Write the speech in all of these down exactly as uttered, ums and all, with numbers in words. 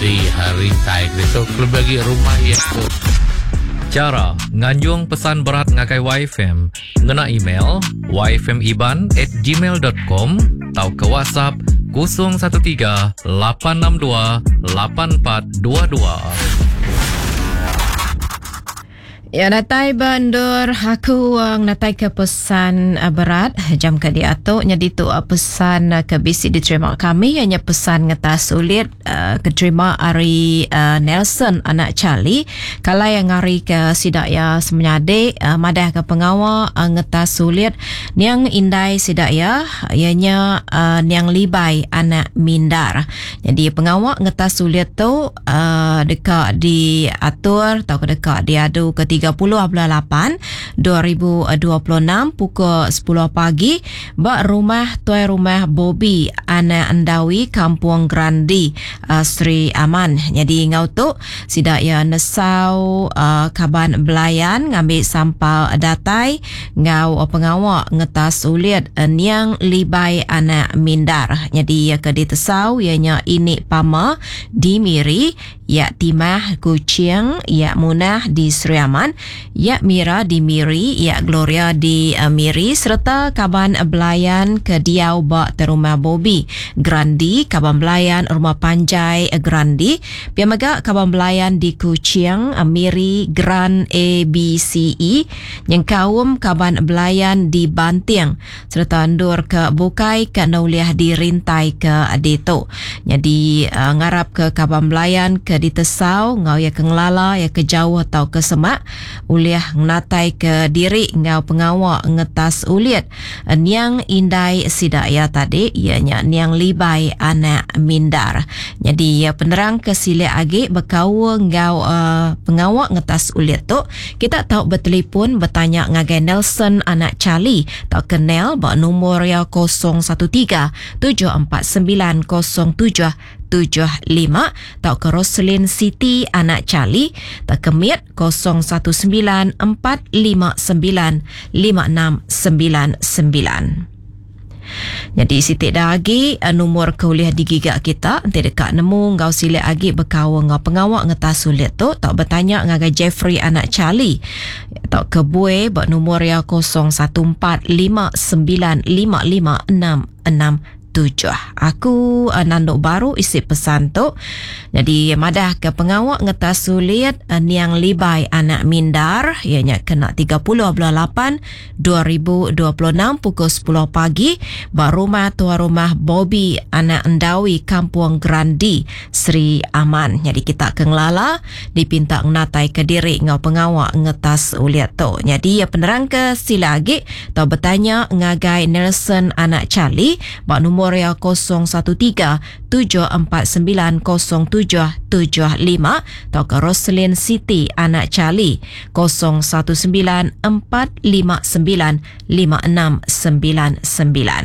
Di rintai tu kelebih agi rumah iya tu. Chara nganjung pesan berat ngagai Y F M ngena email y f m iban at gmail dot com tau ke WhatsApp kosong satu tiga lapan enam dua lapan empat dua dua. Ya, datai bandur aku ngatai ke pesan berat jam ke diatu nyadi tu pesan ke bisi diterima kami ianya pesan ngetas sulit keterima ari Nelson anak Charlie kalai yang ngari ke sidak ya semenyadik madah ke pengawa ngetas sulit niang indai sidak ya ianya niang Libai anak Mindar. Jadi pengawa ngetas sulit tu deka diatur atau deka diadu ke tiga puluh bulan lapan dua ribu dua puluh enam pukul sepuluh pagi ba rumah tuai rumah Bobby anak Endawi Kampung Grandi uh, Sri Aman. Jadi ngau tu sidak ya nesau uh, kaban belayan ngambil sampal datai ngau pengawa ngetas ulit uh, niang Libai anak Mindar. Jadi ya ke ditesau ianya ini Pama di Miri, ya Timah Kuching, ya Munah di Sri Aman, ya Mira di Miri, ya Gloria di uh, Miri serta kaban belayan ke diau ba rumah Bobby Grandi, kaban belayan rumah Panjai Grandi, pia mega kaban belayan di Kuching, uh, Miri Grand A B C E, nyengkaum kaban belayan di Banting serta endur ke bukai ke nauliah dirintai ke ditu. Jadi uh, ngarap ke kaban belayan ke ditesau ngau ya ke ngelala ya ke jauh atau ke semak uliah ngatai ke diri ngau pengawa ngetas ulit niang indai sidak ya tadi ianya niang Libai anak Mindar. Jadi ya penerang ke silik agi berkaul ngau uh, pengawa ngetas ulit tu kita tahu bertelefon bertanya ngagai Nelson anak Charlie atau kenal bak nombor ya kosong satu tiga tujuh empat sembilan kosong tujuh tujuh lima atau ke Roslyn City anak Charlie atau ke Miet kosong satu sembilan empat lima sembilan lima enam sembilan sembilan. Jadi sitik dah agi nombor kuliah digigak kita nanti dekat nemu ngau silik agi berkaul ngau pengawak ngetas sulit tu tak bertanya ngagai Jeffrey anak Charlie atau ke Bue buat nombor ya kosong satu empat lima sembilan lima lima enam enam tujuh. Aku uh, nanduk baru isi pesan tu. Jadi madah ke pengawak ngetas sulit uh, niang Libai anak Mindar ianya kena tiga puluh bulan lapan dua ribu dua puluh enam pukul sepuluh pagi ba rumah tuan rumah Bobby anak Endawi Kampung Grandi Sri Aman. Jadi kita ke ngelala dipinta ngatai ke diri ngau pengawak ngetas uliat tu. Jadi ya penerang ke sila agi atau bertanya ngagai Nelson anak Charlie ba nombor Moria kosong satu tiga tujuh empat sembilan kosong tujuh tujuh lima atau ke Roslyn City anak Charlie kosong satu sembilan empat lima sembilan lima enam sembilan sembilan.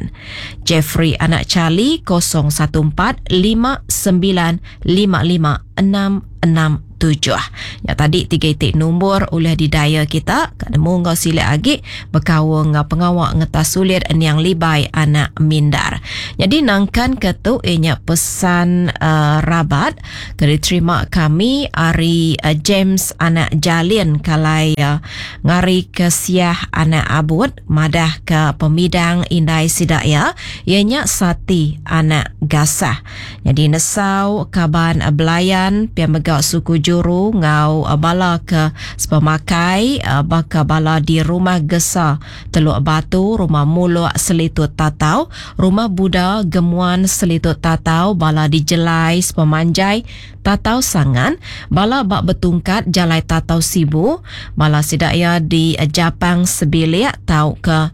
Jeffrey anak Charlie kosong satu empat lima sembilan lima lima enam enam tujuh. Ya tadi tiga itik nombor oleh didaya kita kat nemu ngau silik agi berkaul ngau pengawak ngetas sulit niang Libai anak Mindar. Jadi nangkan ke tu ianya pesan uh, rabat ke diterima kami ari uh, James anak Jalin kalai uh, ngari ke Siah anak Abud madah ke pemidang indai sidak ya ianya Sati anak Gasah. Jadi nesau kaban uh, belayan pia megak suku juru ngau bala ke sepemakai baka bala di rumah Gesa Teluk Batu, rumah Muluk Selitut Tatau, rumah Buddha Gemuan Selitut Tatau, bala di Jelai Sepemanjai Tatau Sangan, bala bak betungkat Jalai Tatau Sibu, bala sidaya di Japang Sebilik tau ke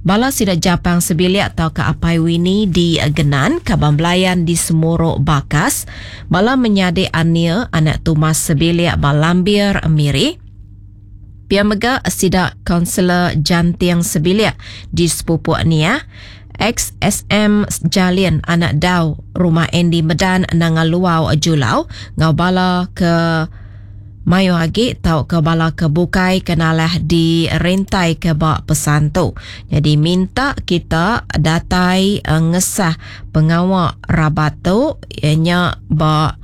Bala sidak Japang Sebilik atau ke Apai Wini di Genan, Kaban Belayan di Semuruk Bakas, bala menyadik Ania anak Tumas Sebilik Balambir Miri. Pia mega sidak Kaunselor Jantiang Sebilik di Sepupuk Nia, X S M Jalin anak Dau Rumah Andy Medan Nangaluau Julau, ngau bala ke Mayo agi tau ke bala ke bukai kenalah di rintai ke bak pesan tu. Jadi minta kita datai uh, ngesah pengawak rabat tu ianya bak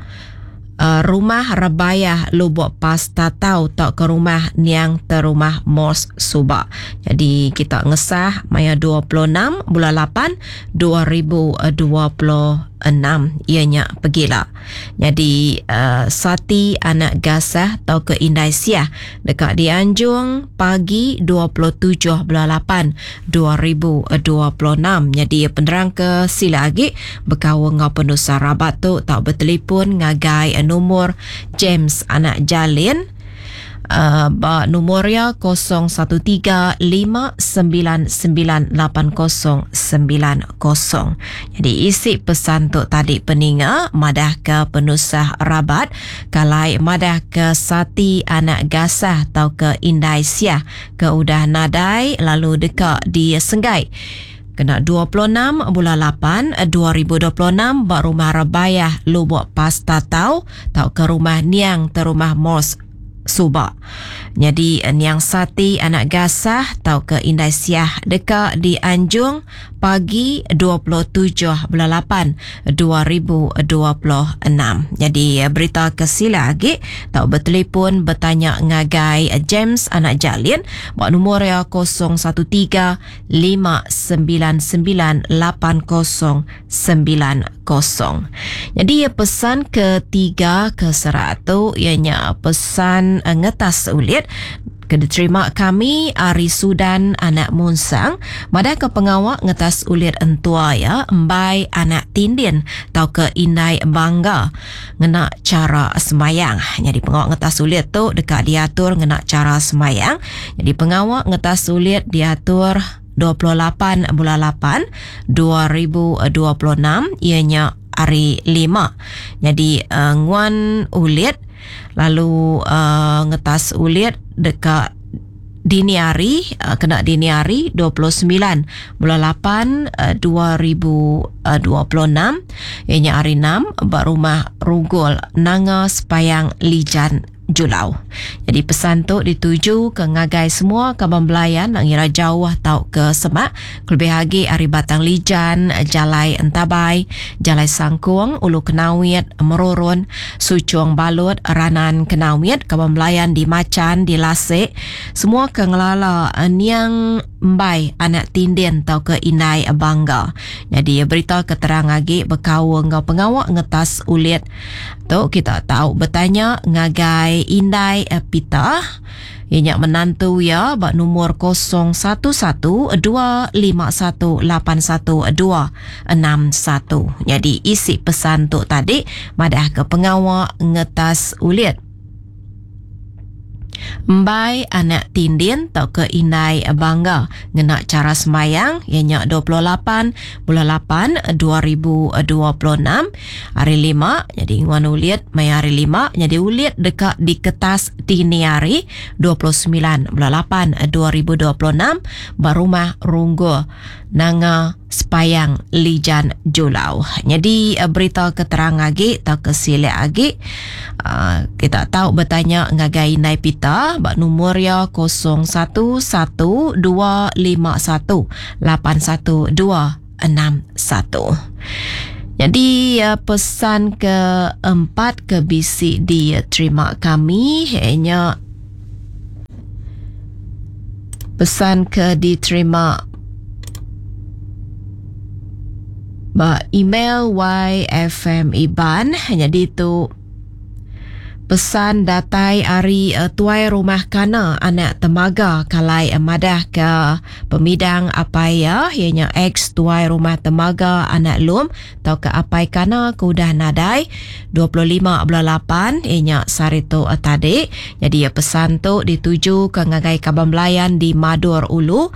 uh, rumah Rebayah Lubok Pastatau tau ke rumah Niang Terumah Mos Suba. Jadi kita ngesah maya dua puluh enam bulan lapan dua ribu dua puluh enam ianya pergila. Jadi uh, Sati anak Gasah tau ke Indai Siah dekat dianjung pagi dua puluh tujuh bulan lapan dua ribu dua puluh enam. Jadi penerang ke sila lagi berkawal ngau penusa rabat tu tau bertelefon ngagai nomor James anak Jalin. Uh, ba nomor ya kosong satu tiga lima sembilan sembilan lapan kosong sembilan kosong. Jadi isi pesan tu tadi peninga madah ke penusah rabat kalai madah ke Sati anak Gasah atau ke Indai Siah ke udah nadai lalu dekat di Senggai. Kena dua puluh enam bulan lapan dua ribu dua puluh enam ba rumah Rebayah Lubok Pastatau tau ke rumah Niang Terumah Mos Suba. Jadi Niang Sati anak Gasah tau ke Indai Siah dekat dianjung pagi dua puluh tujuh bulan lapan dua ribu dua puluh enam. Jadi berita kesila lagi tau bertelefon bertanya ngagai James anak Jalin buat nombor ya kosong satu tiga lima sembilan sembilan lapan kosong sembilan kosong. Jadi pesan ketiga ke seratu ianya pesan ngetas ulit ke diterima kami Ari Sudan anak Munsang madah ke pengawak ngetas ulit entua ya embai anak Tindin tau ke Indai Bangga ngena cara semayang. Jadi pengawak ngetas ulit tu dekat diatur ngena cara semayang. Jadi pengawak ngetas ulit diatur dua puluh lapan bulan lapan dua ribu dua puluh enam ianya hari lima. Jadi uh, nguan ulit lalu uh, ngetas ulit dekat dini hari, uh, kena dini hari dua puluh sembilan bulan lapan, uh, dua ribu dua puluh enam ianya hari enam ba rumah Rugul Nanga Sepayang Lijan Julau. Jadi pesan tu dituju ke ngagai semua kaban belayan nak ngira jauh tau ke Semak, kelebih lagi ari Batang Lijan, Jalai Entabai, Jalai Sangkung, Ulu Kenawit, Merurun, Sucung Balut, Ranan Kenawit, kaban belayan di Macan, di Lasik, semua ke ngelala Niang Mbai anak Tindin tau ke Indai Bangga. Jadi berita keterang lagi berkawal ngau pengawak ngetas ulit tu kita tahu bertanya ngagai Indai Pita ianya menantu ya bak nomor kosong satu satu dua lima satu lapan satu dua enam satu. Jadi isi pesan tu tadi madah ke pengawak ngetas ulit Mbai anak Tindin tau ke Indai Bangga ngena cara semayang ianya dua puluh lapan bulan lapan dua ribu dua puluh enam hari lima. Jadi nguan ulit maya hari lima jadi ulit dekat di kertas dini hari dua puluh sembilan bulan lapan dua ribu dua puluh enam barumah Runggu Nanga Sepayang Lijan Julau. Jadi berita keterang lagi atau kesilek lagi uh, kita tahu bertanya ngagai Indai Pita bak nomor ya kosong satu satu dua lima satu lapan satu dua enam satu. Jadi pesan keempat ke bisi diterima kami ianya pesan ke diterima ba email Y F M Iban. Jadi tu pesan datai ari uh, tuai rumah kana anak temaga kalai uh, madah ke pemidang apai ya ianya ex tuai rumah temaga anak lum atau ke apai kana ke udah nadai dua puluh lima bulan lapan ianya sehari tu uh, tadi. Jadi uh, pesan tu dituju ke ngagai kaban belayan di Madur Ulu,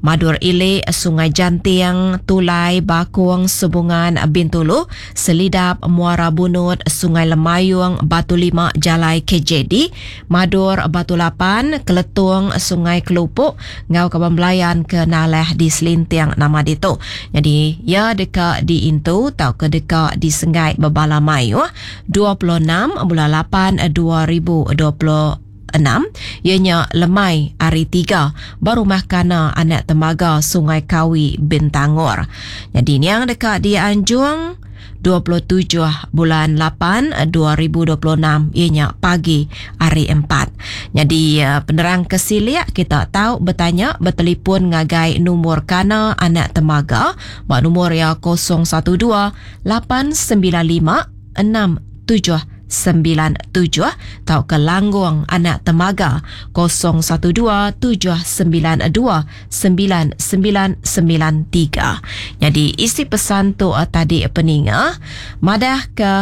Madur Ile, Sungai Jantiang, Tulai, Bakung, Subungan, Bintulu, Selidap, Muara Bunut, Sungai Lemayung, Batu Lima, Jalai K J D, Madur, Batu Lapan, Keletung, Sungai Kelupuk, ngau kaban belayan ke Naleh di Selintiang nama ditu. Jadi ya dekat di Intu tau ke dekat di Sengai Bebala Mayu dua puluh enam bulan lapan dua ribu dua puluh enam ianya lemai hari tiga barumah kana anak temaga Sungai Kawi Bintangor. Jadi ni yang dekat di Anjung dua puluh tujuh bulan lapan dua ribu dua puluh enam ianya pagi hari empat. Jadi penerang kesilik kita tahu bertanya bertelefon ngagai nombor Kana Anak Temaga ba nombor ya kosong satu dua lapan sembilan lima enam tujuh sembilan tujuh atau ke Langgung Anak Temaga kosong satu dua tujuh sembilan dua sembilan sembilan sembilan tiga. Jadi isi pesan tu uh, tadi peninga madah ke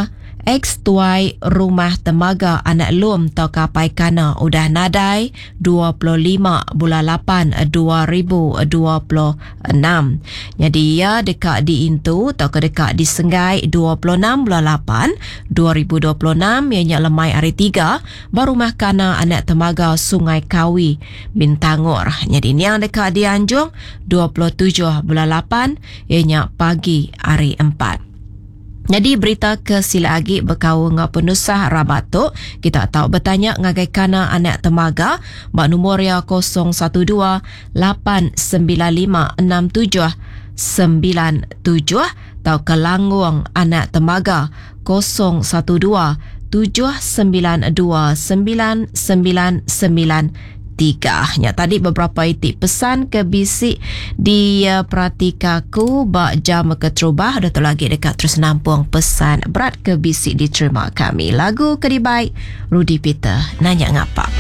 ex tuai rumah Temaga Anak Lum atau kapai Kana udah nadai dua puluh lima bulan lapan dua ribu dua puluh enam. Jadi ia dekat diintu atau ke dekat disenggai dua puluh enam bulan lapan dua ribu dua puluh enam ianya lemai hari tiga baru rumah Kana Anak Temaga Sungai Kawi Bintangor. Jadi ni yang dekat dianjung dua puluh tujuh bulan lapan ianya pagi hari empat. Jadi berita ke sila agi berkau ngau penusah rabat tu kita tahu bertanya ngagai Kana Anak Temaga bak nombor ya kosong satu dua lapan sembilan lima enam tujuh sembilan tujuh atau ke Langgung Anak Temaga kosong satu dua tujuh sembilan dua sembilan sembilan sembilan tiga. Ya, tadi beberapa itik pesan ke bisik di uh, Pratikaku bak jam keterubah dah tu lagi dekat terus nampung pesan berat ke bisik diterima kami. Lagu kedibai Rudy Peter nanya ngapa.